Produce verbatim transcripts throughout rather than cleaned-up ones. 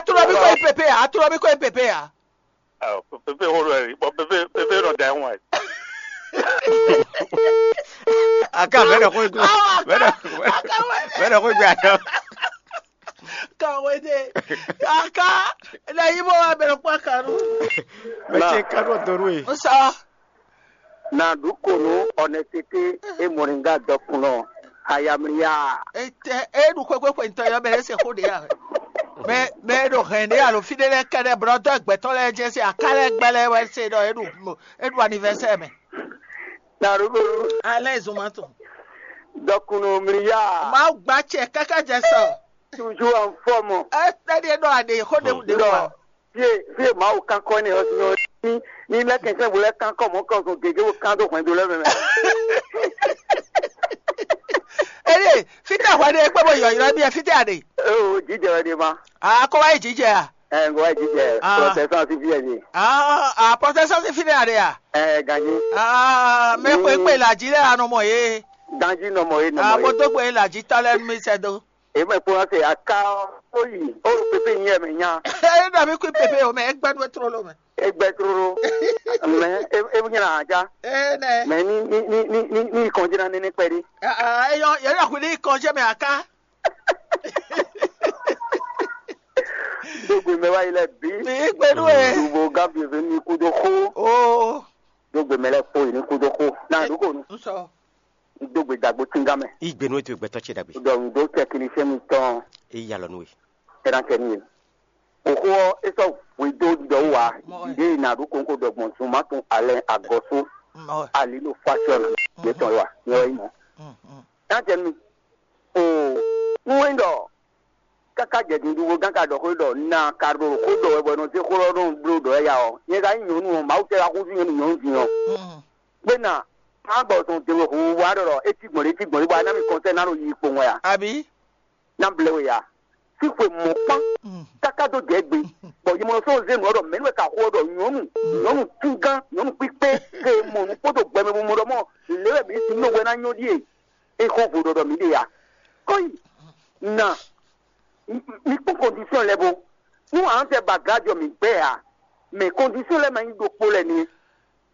Trɔ mi ko yi pepe ya, trɔ mi ko yi pepe ya. Pepe xó ɖɔ ɛ, bɔ pepe pepe nɔ da ɛhún ɛ. Aka mɛ ɖɔ xó gbla. Mɛ ɖɔ mɛ ɖɔ xó gbla. Kawede. Aka. Ena yi mo wa bɛ kpa kanu. Mɛ ce kanu donu e. Nsa. Na ɖu ko nú honnêteté et moringa dɔkunnɔ hayamliya. Ete e ɖu xwexwe xwe ntɔ yɔ bɛ se xó ɖe ya. Mɛ mɛ ɖo hɛn ɖe alo fi ɖe lɛ kɛ ɖe blɔ dɔ gbɛtɔ lɛ jɛ se aka lɛ gbɛ lɛ wɛ se ɖɔ e ɖu e ɖu anniversaire mɛ. Na ɖu ko nú. Alɛ zuma tɔn. Dɔkunnɔ mliya. Mawu gba cɛ kaka jɛ sɔ. Toujours en forme. Ete ɖe ɖɔ aɖe xó ɖe ɖe wa. Fie fie Mawu kankɔ ne ɔ́ nyɔ ní ní lɛ kɛntɛn bo lɛ kankɔ mɔ kɔ zɔn gege bo kan dó hwɛndo lɛ mɛ. Eye fite hwɛ ɖe kpé bo yɔyrɔ bí fite aɖe. Ee, jijɛ wɛ ɖe ma. A kó wá yi jijɛ a? Ɛ ŋgɔ wá yi jijɛ. Ah. Protestant si fie ni. Ah, ah, protestant si fine aɖe a? Ɛ ganji. Ah, mɛ kwe kpe la ji lɛ anɔ mɔ ye. Ganji nɔ mɔ ye nɔ mɔ ye. Amo dó gbe la ji tɔ lɛ mi sɛ do. Eme kplɔ́n se aká ɔ́, ó yi ó ɖo pépé nyí ɛmɛ nya. É ɖɔ mí kú pépé o mɛ, é gbɛ́ nú é tlóló mɛ. É gbɛ́ tlóló. Mɛ é é nyí na ajá. É nɛ. Mɛ ní ní ní ní ní ní kɔnjí ná néné kpɛɖí. Eyɔ yɛ ɖɔ kú ní kɔnjí mɛ aká. Dógbe mɛ wá yi lɛ bí. Bí gbé nú ẹ. Lubo gábíyèsí ní kúdó xó. Ó. Dógbe mɛ lɛ kpó yi ní kúdó xó. Náà dúkò nù. Ń sọ. Dógbe dàgbò tíngá mɛ. Igbe nú ètò ìgbẹ́tọ́ ce dàgbé. Dɔnku dó tẹkinisɛn mi tɔn. Eyi alɔ nú we. Tẹnakɛ ni ye. Òxó ɔ́ é sɔ́ hwedó ɖiɖɔ wú wa. Ɖiɖe yi nà ɖó kónkó ɖɔ gbɔn zun má tún alɛ agɔsó. Ali ɖo fasiɔn yetɔn wa nyɛ wɛ yi mɔ. Tantɛ mi. O nú wɛn ɖɔ káká jɛ dundun gán ka ɖɔ xó ɖɔ na ka ɖo xó ɖɔ wɛ bɔ nɔ zé xó ɖɔ nɔ bló ɖɔ ya ɔ. Nyɛ ka nyí nyɔnu ɔ, Mawu tɛ ka xúzú nyɔnu nyɔnu din ɔ. Gbé na má gbɔ zɔn dèwé hu wa ɖɔ ɖɔ é cí gbɔn ɖé cí gbɔn ɖé bɔ a ná mi kɔnsɛ ná ɖo yi kpowun wɛ a? Abi. Ná blɛ we ya. Síxwe mɔ̌ kpán káká dó jɛ gbe. Bɔ yi mɔ sɔ́ zé nǔ ɔ́ ɖɔ mɛ̌ wɛ ka xó ɔ́ ɖɔ nyɔ̌nu nyɔ̌nu túngán nyɔ̌nu kpíkpé ke mɔ nǔ kpódó gbɛmɛ bo mɔ ɖɔ mɔ lě wɛ mǐ sin nɔ hwɛ ná nyɔ́ ɖíe. É xó vo ɖɔ ɖɔ mǐ ɖe ya. Kɔ́yi na mi kpɔ́n kɔndisɔn lɛ bo nú à ń tɛ ba gǎ jɔ mǐ gbɛ ǎ. Mɛ kɔndisɔn lɛ ma nyí ɖokpó lɛ nɛ́.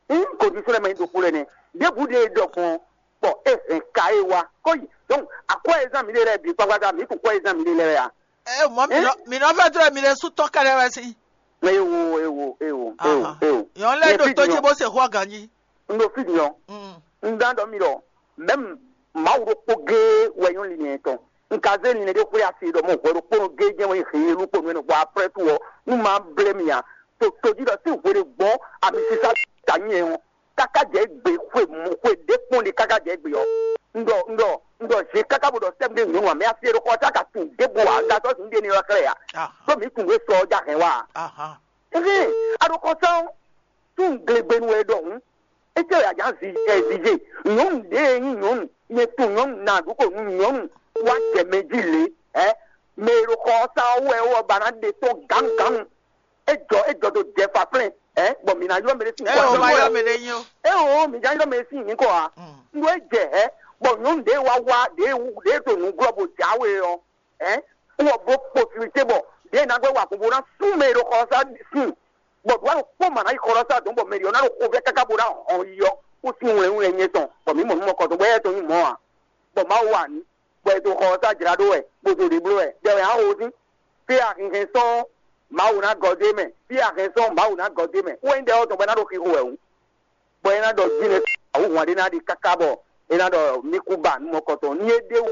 Ŋ kɔndisɔn lɛ ma nyí ɖokpó lɛ nɛ́. Ɖěbǔ ɖe ɖɔ gbɔn bɔ é hɛn ka é wá kó yi. Donc akwɛ́ e zán mǐ ɖe lɛ́ɛ bǐ kpákpátá mǐ kun kwɛ́ e zán mǐ ɖe lɛ́ɛ wɛ a? Ɛ mɔ mi nɔ mi nɔ fɛ tlɛ mi ɖe sú tɔn kɛɖɛ wɛ si. Ewo ewo ewo ewo ewo. Yɔn lɛ ɖo tó jí bó se xɔ ganji. N ɖo fí din ɔ́. Un dán ɖɔ mi ɖɔ mɛm Mawu ɖokpó géé wɛ nyɔ́ linlɛn tɔn. Un ka zé linlɛn ɖé xwlé asi ɖɔ mɔ hwɛ ɖokpónɔ géé jɛ́n wɛ nyí heyelu kpó nú ɛnɛ bɔ aprɛ́ tu ɔ́ nú ma blé mi ǎ. To tojí ɖɔ sín hwe ɖé gbɔn ami sísá ta nyí ɛ ɔ́ káká jɛ gbe xwe mɔ xwe ɖé kpɔ́n ɖi káká jɛ gbe ɔ́. Un ɖɔ un ɖɔ un ɖɔ zě káká bó ɖɔ sɛ́m ɖé nyɔ̌nu ǎ mɛ asi e ɖo xɔ tá ka tunwun ɖěbǔ ǎ un ka sɔ́ zǐn ɖe ní ylɔ́ xlɛ́ ǎ. Ɖó mǐ tunwun é sɔ ɔ́ jɛ hɛn wá a? Ahan. Éhɛn, a ɖo xɔ sán ɔ́, tún glegbenu wɛ ɖɔhun. Étɛ́ wɛ a jǎ zi ɛ zizé? Nyɔ̌nu ɖě e nyí nyɔ̌nu, nyɛ tunwun nyɔ̌nu nǎ ɖu xo nú nyɔ̌nu wá jɛ mɛ jí lě, ɛ? Mɛ e ɖo xɔ ɔ́ sán ɔ́ wú wɛ é wɔ ba ná ɖe tɔ́n gǎnugǎnu. É jɔ é jɔ dó jɛ faflɛ́n, ɛ? Bɔ mǐ ná ylɔ́ mɛ ɖé sín nyǐkɔ ǎ. Ɛ o, mǐ ná ylɔ́ mɛ ɖé sín nyǐkɔ ǎ. Nú é jɛ, ɛ? Bɔ nyɔ̌nu ɖě e wá wá ɖě e wú ɖě e ɖo nǔ glɔ́ bó jǎwe ɔ́, ɛ? Wɔ bó possibilité bɔ ɖě e ná gbɛ́ wa gbogbo ná sú mɛ e ɖo xɔ ɔ́ sá sín. Bɔ ɖǒ alɔ kpɔ́n mǎ ná yi xɔ ɔ́ sá dɔ̌n bɔ mɛ ɖě ɔ́ ná ɖo xovɛ́ káká bó ná hɔn yi ɔ́ kú sín wlɛnwlɛn nyɛ tɔn, bɔ mǐ mɔ nǔ mɔkɔtɔn bɔ éyɛ́ tɔn nyí mɔ̌ ǎ. Bɔ Mawu wa nǔ, bɔ è dó xɔ ɔ́ sá jlá ɖó wɛ, bó dó ɖě bló wɛ, ɖɛ wɛ á xo sín. Fí e ahinhɛn sɔ́ Mawu ná gɔ́ dó é mɛ, fí e ahɛn sɔ́ Mawu ná gɔ́ dó é mɛ, wɛ nyí ɖɛ ɔ́ tɔn bɔ é ná ɖo xixo wɛ hǔn. Bɔ é ná ɖɔ jínɛ awǔhwan ɖé ná ɖi káká bɔ é ná ɖɔ mí kú ba nú mɔkɔtɔn. Ní é ɖéwu,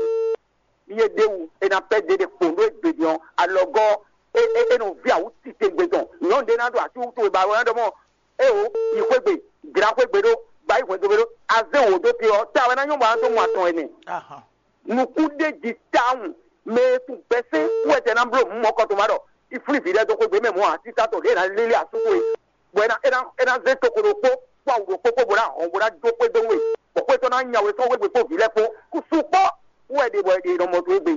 ní é ɖéwu, é ná pɛ́ ɖě ɖe kpǒn ɖó égbé din ɔ́, alɔgɔ́ é é é nɔ ví awǔ titewungbe tɔn. Nyɔ̌nu ɖé ná ɖo así wútu e ba wɛ ná ɖɔ mɔ éwo yi xwé gbe, jlǎ xwé gbe ɖó, ba yi hwɛndo gbe ɖó, azé wǒ dó te ɔ́, ta wɛ ná nyɔ́ bɔ a nǎ dó mɔ atɔn ɛnɛ. Nukún ɖé jí tawun mɛ e tún gbɛsɛn wú wɛ tɛ ná bló mɔ̌ kɔ tó má ɖɔ iflín vǐ lɛ́ɛ dó xwé gbé mɛ mɔ̌ ǎ, títá tɔn ɖě è nǎ lélé asú towe, bɔ é ná é ná é ná zé toxo ɖokpó kpó awu ɖokpó kpó bó ná hɔn bó ná jó xwé dó nú we, bɔ xwé tɔn ná nya we sɔ́ wé gbe kpó vǐ lɛ́ɛ kpó kú sú kpɔ́ wú wɛ ɖe bɔ è ɖe nɔ mɔ towe gbe.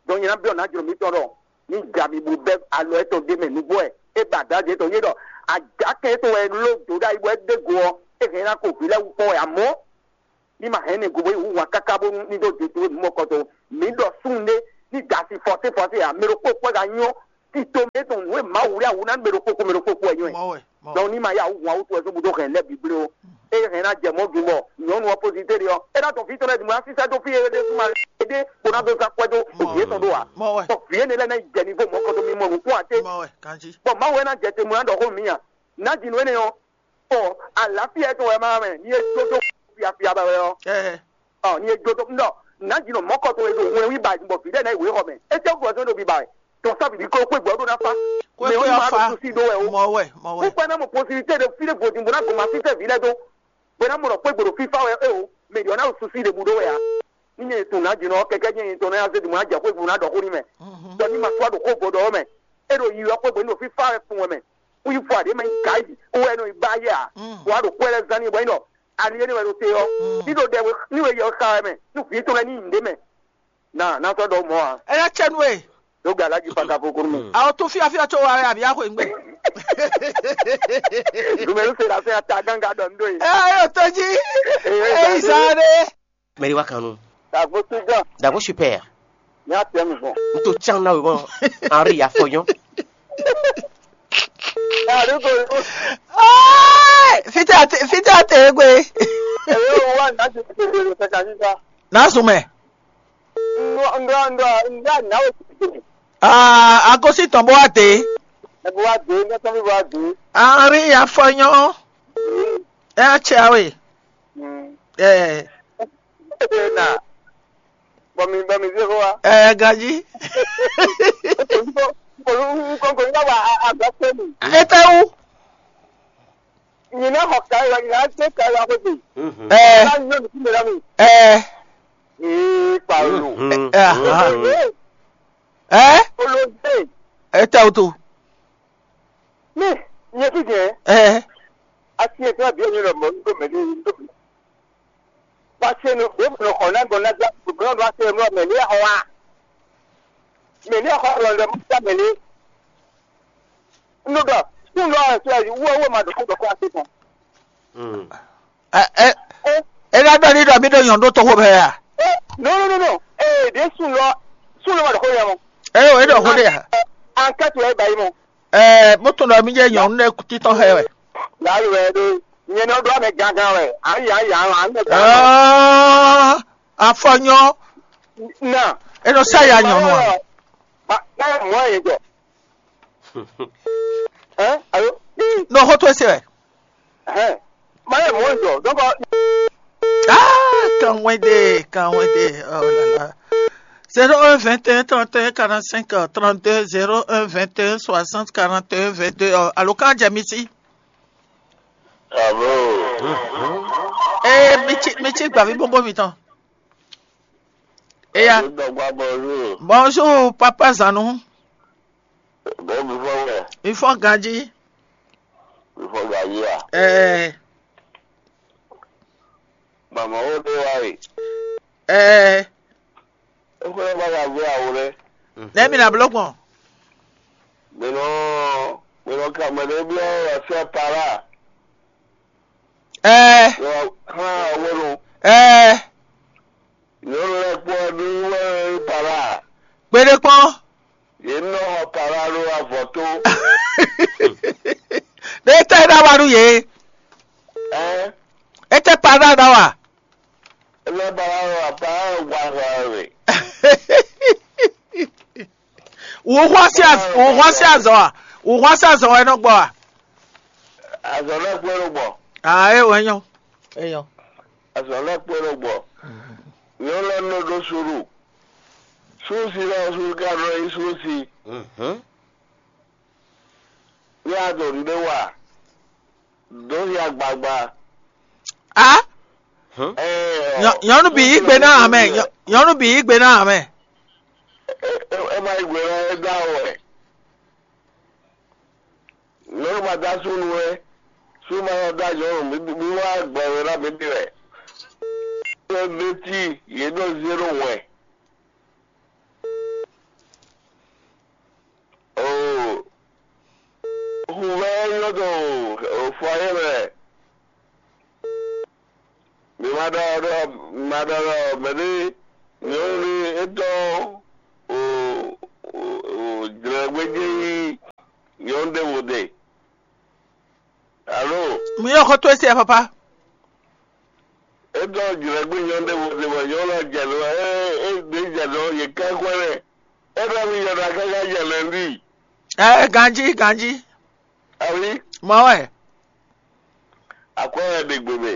Dɔn nyɛ ná byɔ́ nǎ jlǒ mitɔn ɖɔ ní ja mi bó bɛ́ alɔ étɔn ɖ'é mɛ nǔgbó wɛ é ba David étɔn nyé ɖɔ ajakɛ étɔn wɛ ló dǒ ɖ'ayǐ bɔ é ɖé go ɔ́, é hɛn ná ko vǐ lɛ́ɛ wú kpɔ́n wɛ amɔ̌ ní ma hɛn ní go bó yi hú wǎn káká bónú ní dó dǒ towe nǔ mɔkɔtɔn. Mǐ ɖɔ súnnu ɖé ní da asi fɔsé fɔsé ǎ, mɛ ɖokpó kpɔ́ ka nyɔ́ Tito mɛ tɔn nǔ e Mawu wlí awu ná mɛ ɖokpó kpó mɛ ɖokpó kpó wɛ nyɔ́ ɛ. Mɔ wɛ, mɔ wɛ. Donc ní ma yá awu hun awu tó wɛ só búdó hɛn lɛ́ bǐ blé ó. Eye hɛn ná jɛ mɔ̌ gun bɔ nyɔ̌nu ɔ́ pozitɛ́ ɖe ɔ́, é ná tɔn fí tɔn lɛ́ɛ din bó ná sísá dó fí e ɖésú ma ɖé bó ná dó zán kwɛ́ dó Mɔ òbí wɛ. Étɔn ɖó ǎ. Mɔ wɛ. Bɔ vǐ énɛ́ lɛ́ɛ ná yi jɛ nivo mɔ̌kɔtɔn mímɔ nǔkún ǎ té. Mɔ wɛ, kanjí. Bɔ Mawu wɛ ná jɛ te mɔ ná ɖɔ xó nú mì a? Nǎ jǐ nú énɛ́ ɔ́, bɔ alǎfíà tɔn wɛ ma mɛ ní é jó dó fiafia ba wɛ ɔ́. Ɛɛ. Ɔ ní é jó dó un ɖɔ nǎ jǐ nɔ mɔ̌kɔ tɔn e ɖo hwlɛ́nwí ba bɔ vǐ lɛ́ɛ ná yi wěxɔ mɛ. É jẹ́ gbɔzɔn ɖo biba wɛ. Tɔn sá vǐɖi kó xwé gbɔ ɖó ná fa. Xwé Mɛ ɔ́ gbé ní ma ɔ́ fa. Ɖo susi ɖó wɛ o. Mɔ wɛ, mɔ wɛ. Kúkpɛ ná mɔ posibilité ɖe fí ɖé vodin bó ná gbɔn ma fífẹ́ vǐ lɛ́ɛ dó. Bó ná mɔ ɖɔ xwé gbòɖo fífá wɛ é o. Mɛ ɖě ɔ́ ná ɖo susi ɖě bú ɖó wɛ ǎ. Ní nyɛ tun nǎ jǐ nɔ kɛkɛ nyɛ tɔn ná zé dùn ná jɛ xwé gbòɖo ná ɖɔ xó ní mɛ. Mhm. Tɔ ní ma sɔ́ ɖo xó gbɔdɔ ɔ́ mɛ. É ɖo yiyi ɔ́ xwé gbòɖo ní ɖo fífá wɛ fun wɛ mɛ. Wí fɔ aɖě mɛ nyí gǎ yi. Ó wɛ nɔ yi ba yɛ ǎ. Mm. Bɔ a ɖo xwé lɛ́ɛ zán n'i bɔ é nɔ ali énɛ́ wɛ ɖo te ɔ́, ní ɖo ɖɛ we ní we yɛ xa wɛ mɛ, nú vǐ tɔn lɛ́ɛ ní nyi ɖě mɛ. Na ná sɔ́ ɖɔ mɔ̌ ǎ. É ná cɛ nú we. Ɖó gbe alájí paka kókó nú mɛ. Àwọn tó fíafíà tó wa wɛ àbí àxwe ŋgbɛ. Numɛ́ se la fẹ́ ata gángan ɖɔ nú ɖó ye. Ɛ yóò tó jí. Ɛ yóò tó jí. Ɛ yí zan ɖé. Mɛɖé wá kan nú. Dàgbò tó jọ. Dàgbò super. Ní àtẹ mi gbọ̀n. N tó can ná wé mọ́. Henri Afɔyɔn. Dàgbò tó jọ. Fítẹ́ àti fítẹ́ àti egbe. Èyí ò wá ní àti tètè lè fẹ́ kàní sá. N'a sùn mɛ. Ndɔ ndɔ ndɔ ndɔ àná ò tètè. Aa agosi tɔn bó wá dé. Ẹ bó wá dé ní ẹtọ́ mi bó wá dé. Àárín afọyán. Ẹ á tsẹ àwẹ̀. Ẹ. Ẹ na. Bɔmi bɔmi zé fún wa. Ẹ gají. Kò ní kò ní kò ní bá wa àgbà pé mi. Ẹ tẹ́ wú. Nyina xɔ ka wa nyina se ka wa ko bi. Ɛ. Ka nyɔ ni kúndé la mi. Ɛ. Ee kpalo. Ɛ. Ɛ. Olóde. Ɛ tɛ o to. Mi nyɛ fi jɛ. Ɛ. Asi ɛ tɛ bi ɛ nyɔ lɔ mɔ ndo mɛ ni ndo. Pase no e mɔ xɔ na gbɔn na gba gbɔn do ase mɔ mɛ ni xɔ wa. Mɛ ni xɔ lɔ lɛ mɔ mɛ ni. Nugɔ, nugɔ ɛ sɛ wɔ wɔ ma dɔkɔ dɔkɔ ase tɔn. Ɛ ɛ ɛ ná ɖɔ ní ɖɔ mí ɖo nyɔ̌nu ɖó toxo mɛ a? No no no no. Ee ɖe sun lɔ sun lɔ ma dɔkɔ yɛ mɔ. Ɛ o é ɖɔ xó ɖe a? Ankɛti wɛ ba yi mɔ. Ɛ mo tunɔ mí jɛ nyɔ̌nu ɖe títɔn xɛ wɛ. Laayi wɛ ɖo nyɛ nɔ ɖo amɛ gangan wɛ. Ayi ayi ayi amɛ gangan. Aa afɔnyɔ. Na. E nɔ sa ya nyɔnu a? Ba ba mɔ ye jɔ. Hein? Allô? Nɔ xɔ to ese wɛ. Hein? Ma ye mɔ jɔ. Donc. Ah, kanwɛde kanwɛde, oh là là. Zéro un vingt et un trente et un quarante-cinq trente-deux, zéro un vingt et un soixante quarante et un vingt-deux. Alo kan jɛ mi si. Alo. Ee mi ci mi ci gbavi gbogbo mi tɔn. Eya. Bonjour. Bonjour papa Zanu. Bɛɛ mi fɔ wɛ. Mi fɔ ganji. Mi fɔ ganji a. Ɛɛ. Mama wo ɖe wa yi. Ɛɛ. Ekwɛ ba ya gbé awo ɖe. Nɛ mi na bló gbɔn. Mɛ nɔ mɛ nɔ ka mɛ ɖe biɔ wɛ fia para. Ɛɛ. Yɔ hã awo ɖo. Ɛɛ. Nyɔnu lɛ́ɛ kpɔ́ ɖó wɛ para. Kpeɖé kpɔ́n. Yě nɔ xɔ para ɖó avɔ tó. Ɖé tɛ ɖá wa nú yě. Ɛɛ. Étɛ́ para ɖá wa. Ele ba wa wa pa wa wa we. Wò xɔ sí az- wò xɔ sí azɔ a? Wò xɔ sí azɔ wɛ nɔ gbɔ a? Azɔ lɛ kpé ló gbɔ. Ah, é wɛ nyɔ. É nyɔ. Azɔ lɛ kpé ló gbɔ. Nyɔnu lɛ nɔ ɖó sùúrù. Sùúrù sí lɛ sùúrù ká nɔ yí sùúrù sí. Mhm. Ní a dɔ nɖé wa. Dó ya gbagba. A? Ɛɛ, Nyɔ- nyɔnu bǐ yí gbe ná amɛ. Nyɔ- Nyɔnu bǐ yí gbe ná amɛ. Ɛ ɛ ɛ ma yi gbe ná ɛ dá wɛ. Nyɔnu ma dá súnnu wɛ. Súnnu ma yɔ dá nyɔnu mi mi wá gbɛ wɛ ná mi ɖi wɛ. Ɛ bɛ tí yě ɖɔ zéro wɛ. Oo, huvɛ nyɔ dɔ o fɔ yɛ mɛ. Mi ma ɖɔ ɖɔ ma ɖɔ ɖɔ mɛ ɖe nyɔnu ɖe etɔn o o o jlɛ gbɛjɛ yi ɖe. Alo, mi yɔ xɔ towe se papa. Etɔn jlɛgbé nyɔnu ɖé vo ɖe bɔ nyɔnu lɔ jɛ nɔ ɛ ɛ ɖe jɛ nɔ yě ká kwɛ lɛ. Etɔn mi yɔ ɖa káká jɛ nɔ ndi. Ɛ ganji ganji. Awi, mɔ wɛ. Akwɛ wɛ ɖe gbe mɛ.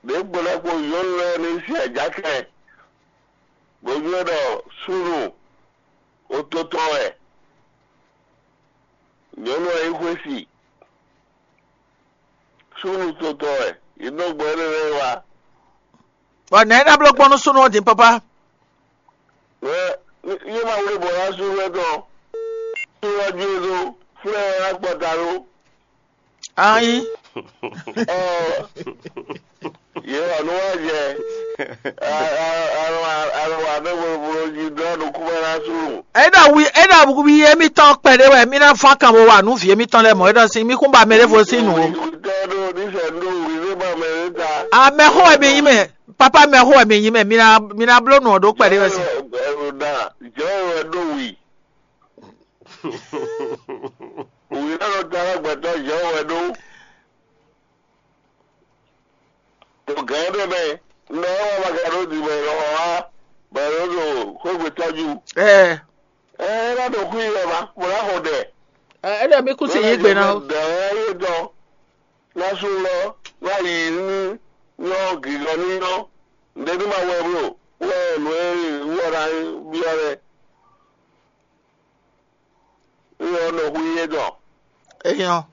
Ɖě gbɔn ɖokpó nyɔnu lɛ́ɛ ní sin ajakɛ, bó nywɛ́ ɖɔ súnnu ototɔ wɛ. Nyɔnu ɔ́ yi xwé si, súnnu totɔ wɛ, yi nɔ gbɔ énɛ́ lɛ́ɛ wá. Bɔ nɛ̌ é ná bló gbɔn nú súnnu ɔ́ din pápá? Yé ma wlé bɔ ná sú wɛ tɔn, sú wá ju é dó, flɛ́ ɛ ná kpɔta ɖó. Ayi. Yě wà nú wá jɛ. Alɔ alɔ alɔ wà bɛ bolo bolo jí dɔn ɖo kúbɛ ná sú. Ena wi ena wi émítɔn kpɛɖé wɛ mí ná fán kan bó wa nú vǐ émítɔn lɛ́ɛ mɔ̌ é ɖɔ sín mí kún ba mɛ ɖěvo sín nǔ ó. Tɛ ɖo ní sɛ ɖo wí ní ba mɛ ní ta. Amɛxó wɛ mi nyí mɛ, papa mɛxó wɛ mi nyí mɛ, mi ná mi ná bló nǔ ɔ́ ɖó kpɛɖé wɛ sín. Ɛrù da jẹ́ wɛ ɖó wì. Wì náà lọ ta alágbàtà jẹ́ wɛ ɖó. Tó gǎn ɖé mɛ, nɔ ɔ́ wá ma ka ɖó di mɛ lɔ wá, bɔ é ɖo xwégbé tɔ́jú. Ɛ Ɛ é ná ɖo xwí yɛ ma, bó ná xɔ ɖɛ. Ɛ é ɖɔ mí kún sin yí gbe ná ó. Dɛ̌ ɔ́ yé dɔn, ná sú lɔ, ná yi ní nyɔ́ gǐgɔ́ ní nyɔ́. Nǔɖé ní ma wɛ bló, wɛ nǔ e wú ɔ́ ná byɔ́ lɛ́ɛ. Ní ɔ́ nɔ hu yé dɔn. Enyɔ.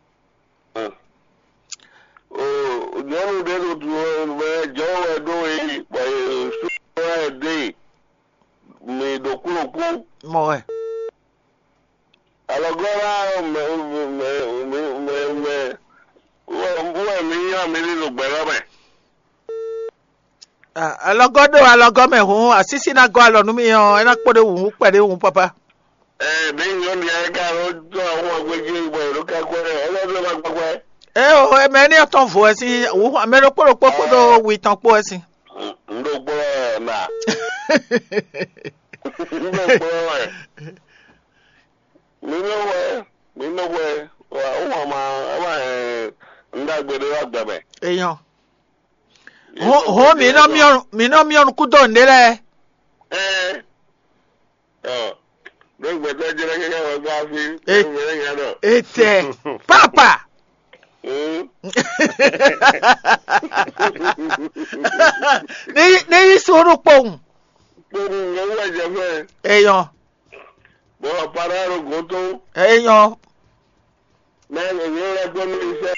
O nyɔnu ɖé ɖo du mɛ jɔ wɛ ɖó e bɔ e sú wɛ ɖe mi ɖo kúlokú. Mɔ wɛ. Alɔgɔ́ lá mɛ mɛ mɛ mɛ mɛ wɛ mi nyɔ mi ní ɖo gbɛ̌ lɔ mɛ. Alɔgɔ́ ɖo alɔgɔ́ mɛ hǔn asísí ná gɔ́ alɔ nú mì ɔ́, é ná kpó ɖé wǔ kpɛɖé wǔ papa. Ɛ ɖě nyɔ̌nu ya é ka nɔ dó ahun agbejí bɔ è nɔ ka kwɛ ɛ lɛ́ ɖó ná gbɛgbɛ. É o, mɛ énɛ́ tɔn vo wɛ sín wǔ, mɛ ɖokpó ɖokpó kpódó wi tɔn kpó wɛ sín. Un ɖó kplɔ́ ɛ na. Un ɖó kplɔ́ ɛ. Mi nɔ hwɛ, mi nɔ hwɛ, wà ó wà má má ɛ un ɖagbe ɖé wá gbɛ mɛ. Èèyàn. Hɔn hɔn mi nɔ miɔ mi nɔ miɔ nukúndó ǹɖé lɛ. Ɛ ɔ ɖó gbɛtɔ jẹrẹ kẹkẹ wọ gbá fi. E- Gbẹrẹ yẹn nọ. Etɛ papa. Hmm. Ne ne yi sunu kpɔn. Kpɔn ŋgɔ wà jẹ fẹ. Eyɔn. Bɔ para ro gɔn tó. Eyɔn. Mɛ ŋgɔ yẹn lɛ gbɔ mi sẹ.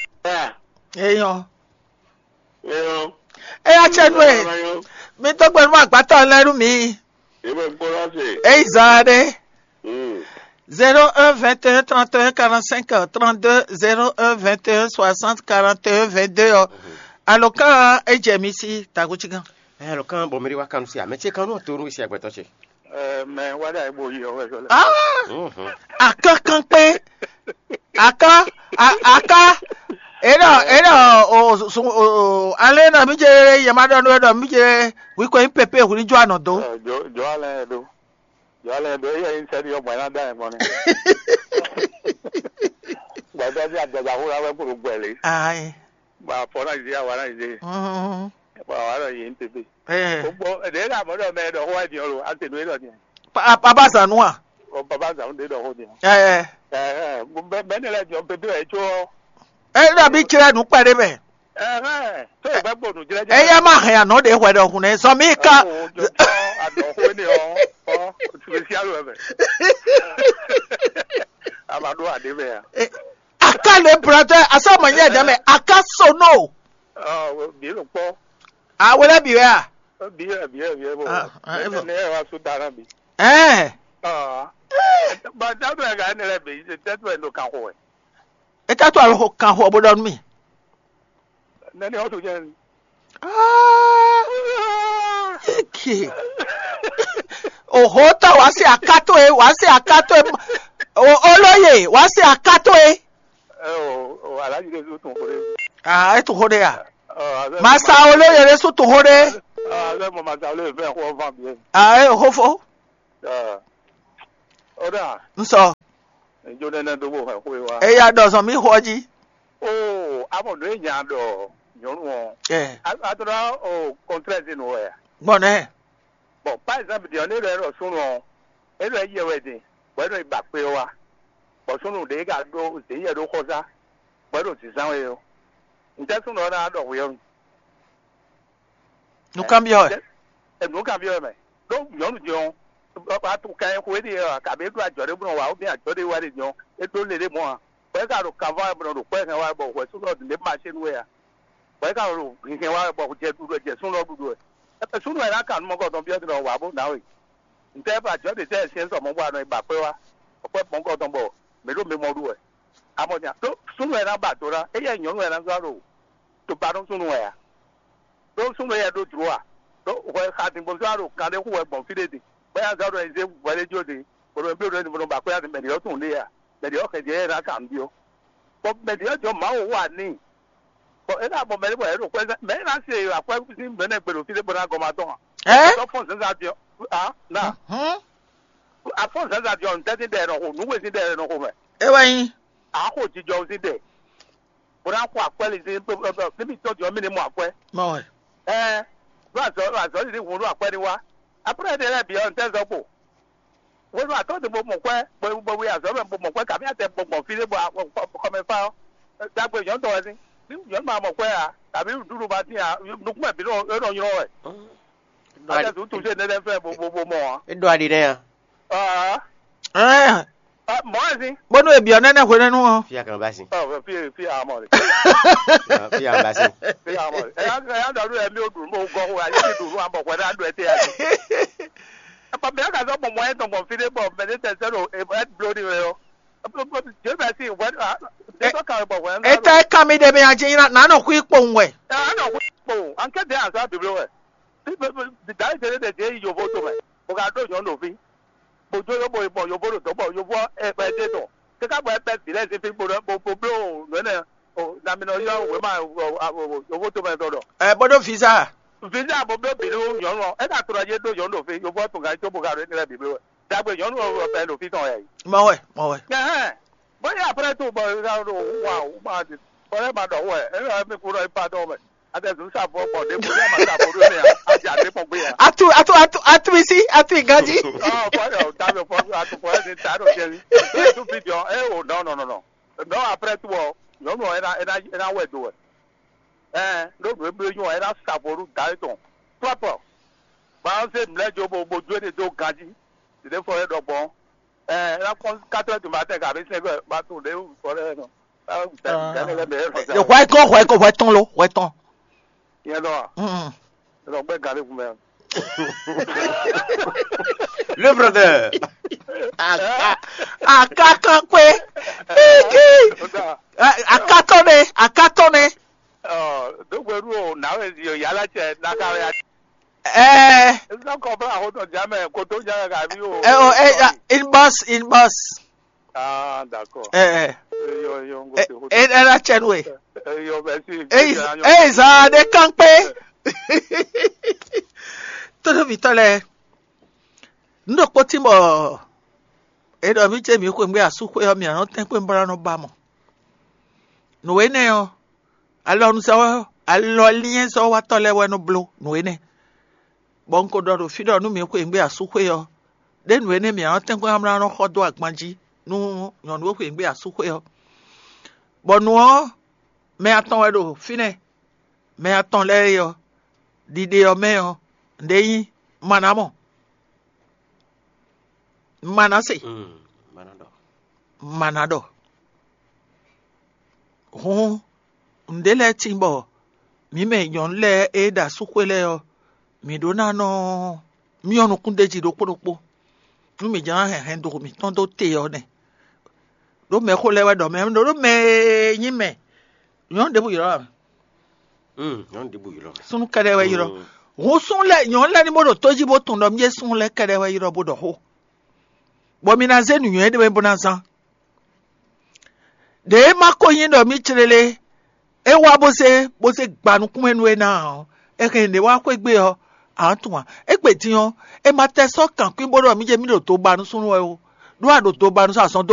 Eyɔn. Eyɔn. Eya tsɛ nu e. Mi tó gbɛnu ma gbàtɔ lɛ nu mi. Ebe kpɔlɔ se. Eyi zan ɖe. Hmm. Zéro un vingt et un trente et un quarante-cinq trente-deux, zéro un vingt et un soixante quarante et un vingt-deux ɔ. Alɔkan e jɛ mi si takutsigan. Ɛ alɔkan bɔ mi ɖi wa kanu si amɛ tse kanu to nu si agbɛtɔ tse. Ɛ mɛ wa ɖe ayi bo yi ɔwɛ sɔ lɛ. Ah, Mhm. Akankan kpé. Aka a- aka. Enɔ enɔ o su o ale na mi je ye ma ɖɔ no ɖɔ mi je wi ko yin pepe hu ni jo anɔ do. Jɔ jɔ alɛ do. Jɔ alɛ do eya yin sɛ di yɔ gbɛ na da yɛ gbɔn ne. Gbɛdɔ di adada hu la wɛ kuru gbɛ le. Ayi. Ba fɔ na yi di awa na yi di. Mhm. Ba wa na yi n pepe. Eh. Gbogbo ɖe la mɔ ɖɔ mɛ ɖɔ xó wa diɔ lo ate nu e ɖɔ diɔ. Papa zanu a? O baba zanu ɖe ɖɔ xó diɔ. Eh. Eh, bɛ ne lɛ diɔ pepe ɛ tso. E ɖɔ bi tsrɛ nu kpɛ ɖe mɛ. Eh, eh, to e gbɛ gbonu jrɛ jrɛ. Eya ma hɛn anɔ ɖe hwɛ ɖɔ hun ne sɔ mi ka. O jɔ anɔ xó ne ɔ, ɔ, spécial wɛ mɛ. A ma ɖo aɖe mɛ a. Aka le brɔdɛ asɔ mɔ nyɛ dɛ mɛ aka sono. Ɔ bi lo kpɔ. Awolɛ bi wɛ a? Bi wɛ bi wɛ bi wɛ bɔ. Ah, ah, ne ne wa su dara bi. Ɛɛ. Ɔ ba da bɛ ga ne lɛ bi tɛ tu ɛ no kan xo ɛ. E ta to alo kan xo bo dɔ mi. Ne ne o tu jɛ. Ah, eke. Oho tɔ wa se akato e wa se akato e. O olóye wa se akato e. Ɛ o o alaji de so tun xo de. Ah, e tun xo de ya. Ɔ azɛ. Masa olóye de so tun xo de. Ɔ azɛ mɔ masa olóye fɛ xɔ van bi. Ah, e xo fo. Ɔ o da. Nsɔ. Njo nɛnɛ ɖó bó hɛn xwé wá. Eya ɖɔ zɔn mì xɔ jí. Oo, amɔ nǔ e nya ɖɔ nyɔ̌nu ɔ́, Ɛ, a a tlɔ o kɔntrɛzi nǔ wɛ a? Gbɔn nɛ. Bon, par exemple, ɖiɔ ne ɖɔ ɖɔ súnnu ɔ́, é ɖɔ yɛ wɛ din, bɔ é ɖɔ yi ba kpé ɔ́ wá, bɔ súnnu ɖě ka ɖó zě yɛ ɖó xɔzá, bɔ é ɖo zǐzán wɛ ɔ́, ntɛ́ súnnu ɔ́ ná ɖɔ hwě ɔ́ nu? Nukánbyɔ́ wɛ. Ɛ, nǔ kan byɔ́ mɛ. Ɖó nyɔ̌nu din ɔ́, a to kan e xo éɖée ɔ́, kabi é ɖó ajɔ ɖé bó nɔ wa, ó bɛ́n ajɔ ɖé wá ɖe din ɔ́, é ɖó le ɖé mɔ̌ ǎ. Bɔ é ka ɖo kanvá wɛ bó nɔ ɖo kpɔ́ hɛn wá wɛ bɔ hwɛ súnnu ɔ́ ɖě ma ṣe nú wɛ ǎ. Bɔ é ka ɖo hinhɛn wá wɛ bɔ jɛ ɖuɖu wɛ, jɛ súnnu ɔ́ ɖuɖu wɛ. Ɛbɛ súnnu wɛ ná kan nú mɔgɔtɔn byɔ́ din ɔ́, wǎ bó ná we. Ntɛ́ bɔ ajɔ ɖě tɛ́ syɛ́n sɔ mɔ̌ bɔ a nɔ yi ba kpé wá? Kpɔ́ mɔgɔtɔn bɔ mǐ ɖo mimɔ ɖu wɛ. Amɔ din, ɖó súnnu wɛ ná ba do ná, éyɛ́ nyɔ̌nu wɛ ná zɔ́ ɖo to ba nú súnnu wɛ ǎ. Ɖó súnnu yɛ ɖó jlǒ a? Ɖó hwɛ xa din bó zɔ́n ɖo kan ɖé xú wɛ gbɔn fí ɖé din, bó yá zɔ́ ɖɔ è zé hwɛ ɖé jó din, bó ɖo nyi bló ɖě din, bó nɔ ba kpé yá din, mɛ ɖě ɔ́ tunwun ɖe a? Mɛ ɖě ɔ́ xɛjɛ yɛ ná kan nǔ byɔ́. Bɔ mɛ ɖě ɔ́ jɔ Mawu wá n'i. Bɔ é ná mɔ mɛ ɖé bɔ yě ɖo xwɛ mɛ é ná se akwɛ́ sín mɛ nɛ gbe ɖo fí ɖé bó ná gɔ́ ma tɔn a? Ɛ? Sɔ́ fɔ́n zǎnzǎn din ɔ́, a na. Hɔn. Afɔ́n zǎnzǎn din ɔ́, ntɛ́ sín ɖɛ è nɔ xo, nǔ we sín ɖɛ è nɔ xo mɛ. É wɛ nyí. A xo jijɔ sín ɖɛ. Bó ná xo akwɛ́ lin sín ní mì tɔ́jú ɔ́ mì ní mɔ akwɛ́. Mɔ wɛ. Ɛɛ, ɖó azɔ̌ ɖó azɔ̌ lǐlí hun ɖó akwɛ́ ní wá. Akwɛ́ ɖé lɛ́ɛ bǐ ɔ́, ntɛ́ zɔ́ kpo? Hwenu atɔ́ ɖé bó mɔ kwɛ́, bó bó yi azɔ̌ mɛ bó mɔ kwɛ́, kabí atɛ bó gbɔn fí ɖé bɔ xɔmɛfá ɔ́, dagbe nyɔ̌nu tɔn wɛ sín. Ní nyɔ̌nu ma mɔ kwɛ́ ǎ, kabí nǔɖuɖu ma tín ǎ, nukún mɛ bǐ nɔ é nɔ nylɔ wɛ. Atɛ zǔ tu sé nɛ́nɛ́ fɛ bó bó bó mɔ ǎ. É ɖo aɖi nɛ́ a? Aa, Ɛɛ, ɛ, mɔ̌ wɛ sín. Bónú è byɔ̌ nɛ́nɛ́ hwenɛ́nu ɔ́. Fia kan ba sin. Ɔ, fí fí amɔ rè. Fia kan ba sin. Fí amɔ rè. Ɛ yá ɛ yá ɖɔ nú ɛ mí o ɖu nú o gɔ́ xo ayé ti ɖu nú abɔ hwɛ ná ɖu ɛ té yá. Ɛ pɔ bɛ́ ka sɔ́ mɔ mɔ ɛ tɔn gbɔn fí ɖé bɔ mɛ ɖé tɛ sɛ́ ɖo ɛ bló ní wɛ ɔ́. Jé bɛ si hwɛ ɖé sɔ́ kan bɔ hwɛ ná. Etɛ kan mi ɖe mi aji na nɔ xwí kpowun wɛ. Ɛ anɔ xwí kpowun. An kɛ dɛ azɔ bibló wɛ. Dǎwe ɖé ɖe ɖě yi yovo tomɛ, bó ka ɖó nyɔ̌nu ɖo fí, bó jó yóbó yi bɔ yovo ɖo dɔ̌n bɔ yovo ɔ́ ɛ ɛ ɖe tɔn, káká bɔ é bɛ́ vǐ lɛ́ɛ sín fí bó ɖɔ bó bó bló nǔ énɛ́ o, nami nɔ ylɔ́ wěma yovo tomɛ tɔn ɖɔ. Ɛ bó ɖó visa. Visa bó bló bǐ nú nyɔ̌nu ɔ́, é ka tlɔ jí é ɖó nyɔ̌nu ɖo fí, yovo ɔ́ tun gǎn có bó ka ɖo énɛ́ lɛ́ɛ bǐ bló wɛ. Dǎgbe nyɔ̌nu ɔ́ bɛ ɖo fí tɔn wɛ a yi. Mɔ wɛ, mɔ wɛ. Ɛhɛn. Bóyá après tout, bon, regarde, waouh, ma dit, fallait ma dɔn wɛ, e yɔ mi kúrò ipa dɔn mɛ. Ate zun sa bɔ bɔ de bóyá ma sa bɔ de mɛ. Aja de kpɔn gbé ya. Atu atu atu atu isi atu iganji. Ah, fɔ yɔ ta bɛ fɔ atu fɔ ɛdi ta ɖo jɛ mi. Tu fi jɔ, e o non non non non. Non, après tout, nyɔnu ɔ ena ena ena wɛ do wɛ. Ɛɛ, ɖó nǔ e bló nyɔ́ ɔ́, é ná sa vo nú da étɔn. Pɔ́pɔ, bɔ é nɔ zé mlɛ̌ jó bó bó jó éɖée dó ganjí. Ɖě fɔ é ɖɔ gbɔn. Ɛɛ, é ná kpɔ́n quatre heures du matin kabí cinq heures, ba tunwun ɖě fɔ lɛ́ɛ nɔ. Gǎnɛ lɛ́ɛ mɛ é nɔ sa. Hwɛ kɔn hwɛ kɔn hwɛ tɔn lo hwɛ tɔn. Nyɛ nɔ a? Mm. É nɔ gbɛ́ gǎn ɖé kun mɛ. Le brother. Aka- Akakan kwe. Aka- Akatɔ ne akatɔ ne. Dogbeɖu o, nǎwe zi o, yálà cɛ naka wɛ. Ɛɛ. Ezɔ kɔ bla xotɔ jamɛ koto jamɛ kabi o. Ɛ o ɛ ya, inbox inbox. Ah, d'accord. Ɛ ɛ. Eyɔ eyɔ n ko Ɛ se xotɔ. Ɛ ɛ la cɛ nu e. Eyɔ bɛ si. Eyi eyi zaa de kan kpe. Tódóvitɔ lɛ, nu ɖokpó tí bɔ e ɖɔ mí ce mí xweyǐgbe asúxwé ɔ́, mǐ nɔ tɛ́nkpɔ́n bó ná nɔ ba mɔ. Nǔ énɛ́ ɔ́, alɔnuzɔ́ alɔlinyɛzɔ́watɔ́ lɛ́ɛ wɛ nɔ bló nǔ énɛ́. Bɔ un ko ɖɔ ɖo fí ɖɔ nú mǐ xweyǐgbe asúxwé ɔ́, ɖé nǔ énɛ́ mǐ nɔ tɛ́nkpɔ́n ná nɔ xɔ dó agban jí nú nyɔ̌nu e xweyǐgbe asúxwé ɔ́. Bɔ nǔ ɔ́, mɛ atɔn wɛ ɖo fínɛ́. Mɛ atɔn lɛ́ɛ é ɔ́, ɖiɖe ɔ́ mɛ ɔ́, nǔɖé nyí Manamɔ, Manase, Mm, mana ɖɔ. Mana ɖɔ. Hǔn nǔɖé lɛ́ɛ tíin bɔ mǐ mɛ nyɔ̌nu lɛ́ɛ e ɖo asúxwé lɛ́ɛ ɔ́, mǐ ɖó ná nɔ myɔ nukún d'é jí ɖokpó ɖokpó, nú mǐ jló ná hɛn hɛn do mǐtɔn dó te ɔ́ nɛ́. Ɖó mɛxó lɛ́ɛ wɛ ɖɔ mɛ ɖó mɛ e nyí mɛ, nyɔ̌nu ɖěbǔ ylɔ́ ǎ. Hmm, nyɔ̌nu ɖěbǔ ylɔ́. Súnnu kɛ́ɖɛ́ wɛ ylɔ́. Hmm. Hǔn súnnu lɛ́ɛ nyɔ̌nu lɛ́ɛ ní bó ɖo tó jí bó tunwun ɖɔ mí súnnu lɛ́ɛ kɛ́ɖɛ́ wɛ ylɔ́ bó ɖɔ xó. Bɔ mi ná zé nǔnywɛ́ ɖé mɛ bó ná zán. Ɖě e ma ko nyí ɖɔ mí clélé, é wá bó zé bó zé gba nukún mɛ nú é ná ɔ́, è hɛn ɖě wá xwé gbe ɔ́, ǎ tunwun ǎ. Égbé din ɔ́, è ma tɛ sɔ́ kankwín bó ɖɔ mí jɛ mí ɖo do ba nú súnnu wɛ ó, ɖó a ɖo do ba nú sɔ́ azɔn dó